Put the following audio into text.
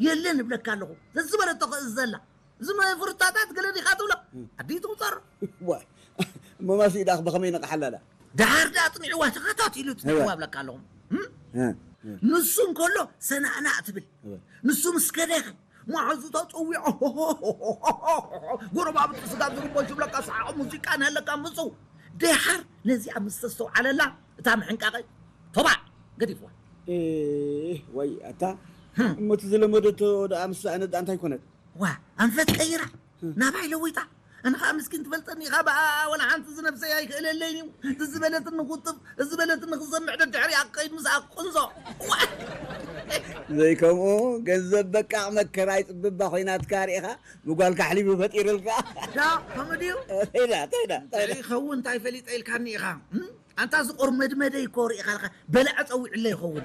የለን እብለካ ኣለኹ። ዘዝበለቶ ክእዝ ዘላ። እዚ ናይ ፍሩታታት ገለ ዲኻ ትብሎ? ኣዲኡ ትቑጸር። ዋ፣ እሞ ማሲ ኢዳኽ ብኸመይ ነቕሓላዳ? ደሓር ደኣ ኣጽኒዕዋ ተኸታቲሉ ጽኒዕዋ እብለካ ኣለኹ። እም? ንሱ እንከሎ ሰናእናእ ትብል። ንሱ ምስ ከደኺ መሓዙ ተጸዊዖ። ጎረባብቲ ስጋ ዝርቦ ይብለካ ሰሓቕ ሙዚቃ ንሃለካ ምጽው። ደሓር ነዚኣ ምስ ተስተውዓለላ እታ ምሕንቃቐ ተባዕ ገዲፍዋ። ወይ ኣታ እሞ እቲ ዝለመደቶ ደኣ ምስ ሰኣነት ደኣ እንታይ ኮነት? ዋ ኣንፈት ቀይራ ናባይ ለዊጣ። ኣነ ከዓ ምስኪን ትፈልጠኒ ኢኻ ብኣ ወላ ሓንቲ ዝነብሰይ ኣይክእለለይን እዩ። እዚ ዝበለትኒ ቁጥብ እዚ ዝበለትኒ ክሰምዕ ደድሕሪኣ ክኸይድ ምስኣ ቁንዞ። ዋ! ዘይከምኡ ገንዘብ በቃ መከራ ይፅብባ ኮይናትካ ርኢኻ ምጓልካ ኣሕሊፉ ፈጢርልካ። ዳ ከምኡ ድዩ? ተይዳ ተይዳ ተይዳ ይኸውን እንታይ ፈሊጠ ኢልካኒ ኢኻ። ኣንታ እዚ ቆርመድመደ ይኮር ኢኻ ኢልካ በልዐ ጸዊዕለ ይኸውን።